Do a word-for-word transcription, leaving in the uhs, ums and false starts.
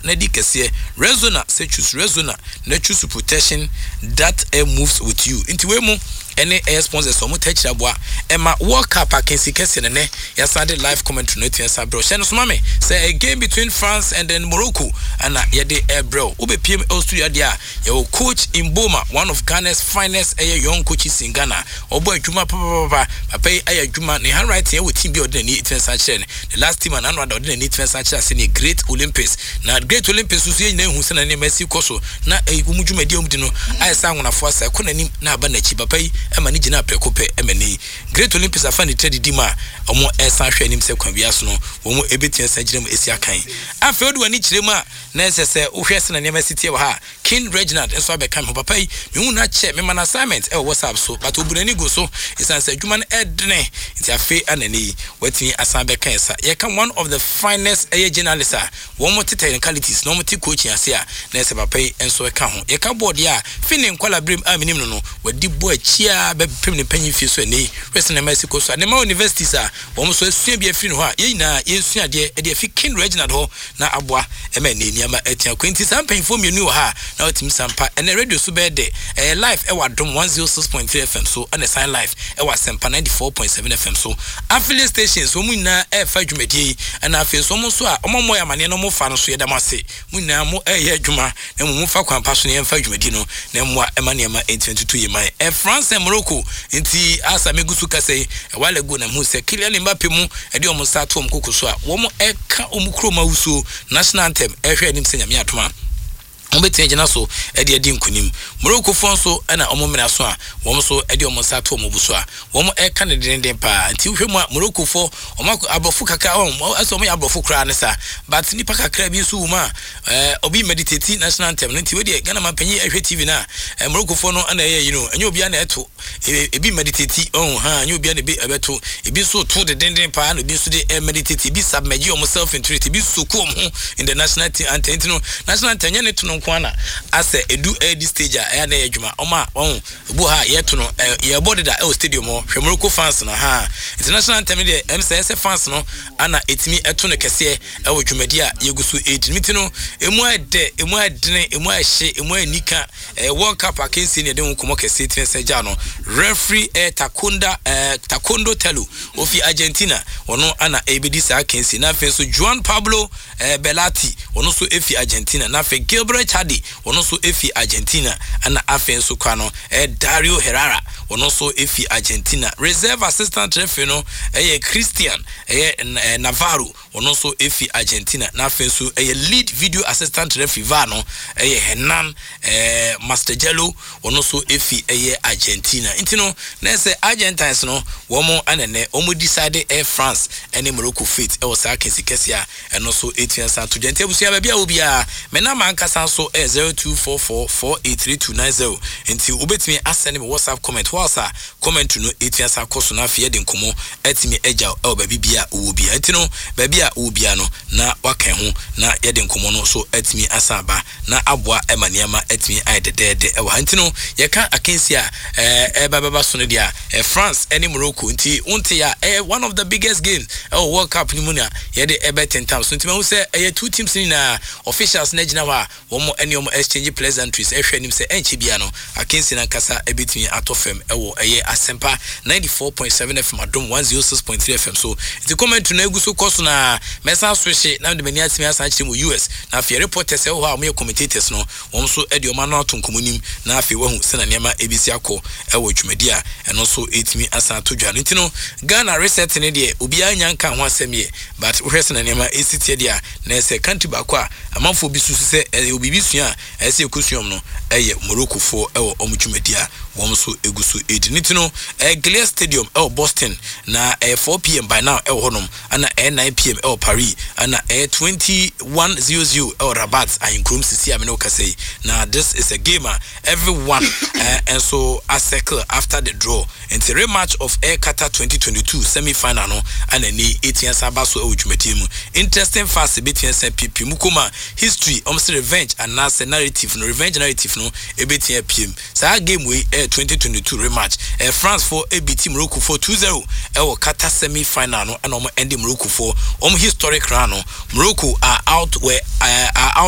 Na di kɛseɛ Rexona sɛ choose Rexona na choose protection that uh, moves with you. Nti wei mu ɛne ɛyɛ sponsors a wɔn tɛkyerɛ aboa ɛma World Cup akansi kɛseɛ nɛnɛ yɛsan de live commentary no etua sa brɛw. Hyɛ no soma me sɛ a game between France and then Morocco ɛna yɛde ɛbrɛw. Wobɛpiem ɛwɔ studio adeɛ a yɛwɔ Coach Mboma, one of Ghana's finest ɛyɛ young coaches in Ghana. Ɔbɔ adwuma papapapa. Papa yi ayɛ adwuma ne handwriting ɛwɔ team bi a ɔde n'ani tena san kyerɛ no. The last team a n'ano ada ɔde n'ani tena san kyerɛ ase ne Great Olympics. Na Great Olympics nso, yɛn nyinaa ehu sɛ na nneɛma asi kɔ so na ɛyi wɔn dwumadi a wɔn di no ayɛ sɛ ahonafoɔ asa ɛkɔ n'anim na aba n'akyi. Papa yi ɛma ne gyina prɛko pɛ ɛma ne Great Olympics afa ne tiri didi mu a wɔn ɛsan hwɛ anim sɛ kwan bi aso no wɔn ebɛtumi asan gyina mu esi akan. Afei wode w'ani kyerɛ mu a na ɛsɛ sɛ wohwɛ sɛ na nneɛma si tie wɔ ha. King Reginald nso abɛka me ho. Papa yi mehu no akyɛ, mema no assignment ɛwɔ WhatsApp so, but obu n'ani gu so ɛsiane sɛ adwuma no ɛdene. Nti afei ana ne yi watumi asan bɛka yɛ sa yɛka one of the finest ɛyɛ journalist a wɔn mo te technicalities na wɔn te coaching ase a na ɛsɛ papa yi nso ɛka ho. Yɛka board a fi ne nkwala berem a menim no no wadi bɔ akyi a bɛpem ne panyin fie so. Ɛnɛ yi hwɛ sɛ nneɛma asi kɔ so a nneɛma universities a wɔn nso asua bi afiri ne hɔ a yɛn nyinaa yɛnsua adeɛ ɛde afi King Reginald hɔ na aboa ɛma ɛnɛ nneɛma atua kwan. Nti saa mpanyinfoɔ mmienu wɔ ha na wɔtumi sampa ɛnɛ radio so bɛyɛ dɛ. Ɛyɛ live ɛwɔ Adom one oh six point three F M so, ɛna san live ɛwɔ Asɛmpa ninety-four point seven F M so. Affiliate stations wɔn nyinaa ɛɛfa dwumadie yi, ɛna afei nso wɔn nso a wɔn mmɔ yɛ amaneɛ na wɔn fa no so, yɛda mo ase. Mo nyinaa mo ɛɛyɛ adwuma na mo mo fa kwan pa so na yɛmfa dwumadie no na mmoa ɛma nneɛma ɛntumi tutu yɛ man ɛ France and Morocco. Nti asa megu so kasa yi, a while ago na mu sɛ Kylian Mbappe mu ɛde wɔn nsa ato wɔn koko so a wɔn ɛka wɔn kurom awusuo national anthem, ɛhwɛ anim sɛ Nyame atoma wɔn bɛtumi agyina so ɛde adi nkunim. Moroccofoɔ nso ɛna wɔn mmena so a wɔn nso ɛde wɔn nsa ato wɔn bo so a wɔn ɛka ne dendenden paa. Nti wohwɛ mu a, Moroccofoɔ wɔn akɔ aborɔfo kakra, wɔn ɛsɛ wɔn yɛ aborɔfo koraa ne sa, but nipa kakra bi nso wɔ mu a ɛɛ obi meditate national anthem no. Nti wedeɛ Ghana man panyin ɛhwɛ T V na ɛɛ Moroccofoɔ no ɛna ɛyɛ yi no, ɛnyɛ obiara na ɛto. Ebi meditate ɔn ha, ɛnyɛ obiara na ebi ɛbɛto. Ebi nso to dendenden paa na ebi nso de ɛ meditate, ebi submerge wɔn self into it, ebi soak wɔn ho in the national team anthem. Nti no national anthem nyɛ ne to no nko ana asɛ edu ɛdi stage a ɛyɛ na ɛyɛ adwuma. Ɔmo a ɔn ebu ha yɛto no ɛ yɛbɔ deda ɛwɔ stadium hɔ. Hwɛ Morocco fans no ha. International anthem deɛ, ɛm sɛ ɛsɛ fans no ana etimi ɛto no kɛseɛ ɛwɔ dwumadi a yɛgu so edi no. Ti no emu ayɛ dɛ, emu ayɛ dene, emu ayɛ hye, emu ayɛ nika. Ɛɛ World Cup akansie ne yɛde ho nkɔmɔ kɛseɛ tene sɛ gya no referee ɛɛ Takonda ɛɛ Takondo Telo ofi Argentina, ɔno ana ɛbɛdi saa akansie. Na afei nso Juan Pablo ɛɛ Belati, ɔno nso efi Argentina. Na afei Gilbert Chadi, ɔno nso efi Argentina. Ɛna afei nso kwa no ɛɛ Dario Herrera, ɔno nso efi Argentina. Reserve assistant referee no ɛyɛ Christian ɛyɛ ɛɛ Navarro, ɔno nso efi Argentina. Na afei nso ɛyɛ lead video assistant referee, VAR no, ɛyɛ Hernan ɛɛ Mastrangelo, ɔno nso efi ɛyɛ Argentina. Nti no na ɛsɛ Argentines no wɔn anɛnɛ wɔn decide ɛyɛ France ɛne Morocco fate ɛwɔ saa kɛse kɛse a ɛno nso etua san to dwa. Nti abusua, baabi a obiara mɛ nama ankasa nso ɛyɛ zero two four four four eight three two nine zero. Nti wobɛtumi asɛne me WhatsApp comment whilst a comment no etua san kɔ so. Na afei yɛde nkɔmɔ ɛtumi agya ɛwɔ baabi bia owó bia. Nti no baabi a owó bia no na waka ho na yɛde nkɔmɔ no so ɛtumi asan aba na aboa ɛma nneɛma ɛtumi ayɛ dɛdɛɛdɛ ɛwɔ ha. Nti no yɛka akansi a ɛɛ ɛba bɛba so no deɛ ɛ France ɛne Morocco. Nti wonte a ɛyɛ one of the biggest games ɛwɔ World Cup no mu na yɛde ɛbɛ tentam so. Nti mahu sɛ ɛyɛ two teams no nyinaa officials no gyina hɔ a wɔn ɛne wɔn exchange pleasantries, ɛhwɛ anim sɛ ɛnkyɛ bia no akansi no ankasa ɛbɛtumi atɔ fam ɛwɔ ɛyɛ Asɛmpa ninety-four point seven F M, Adom one oh six point three F M so. Nti commentary no egu so kɔ so na mɛsan so hye na mede m'ani atumi asan akyerɛ mu U S. Na afei reporters ɛwɔ hɔ a wɔyɛ commentators no, wɔn nso ɛde wɔn ano ato nkɔmɔ nim na afei wahu sɛna nneɛma ebisi akɔ ɛwɔ dwumadi a ɛno nso ɛtumi asan ato dwa no. Nti no Ghana reset ne deɛ, obiara nya nka ho asɛm yɛ, but wohwɛ sɛna nneɛma esi tie deɛ a na ɛsɛ country baako a amanfoɔ bi susu sɛ ɛyɛ obibi sua a ɛsɛ ekosua no ɛyɛ Moroccofoɔ ɛwɔ wɔn dwumadi a wɔn nso egu so edi ne. Ti no ɛyɛ Gillette Stadium ɛwɔ Boston na ɛyɛ four p m by now ɛwɔ hɔnom, ɛna ɛyɛ nine p m ɛwɔ Paris, ɛna ɛyɛ twenty-one zero zero ɛwɔ Rabat ahenkurom sisi a mene wo kasa yi. Na this is a game a everyone ɛɛ nso acircle after the draw. Nti rematch of Air Qatar twenty twenty-two semi final no ɛna ni etia san ba so ɛwɔ dwumadie mu. Interesting facts ebetia san piepie mu koma history, ɔmo sɛ revenge anaasɛ narrative no, revenge narrative no ebetia piem. Saa game wei ɛyɛ twenty twenty-two rematch. Ɛɛ France fo ebeat Morocco for two zero ɛwɔ Qatar semi final no, ɛna ɔmo ɛnde Morocco fo ɔmo historic round no. Morocco are out were ɛɛ are out.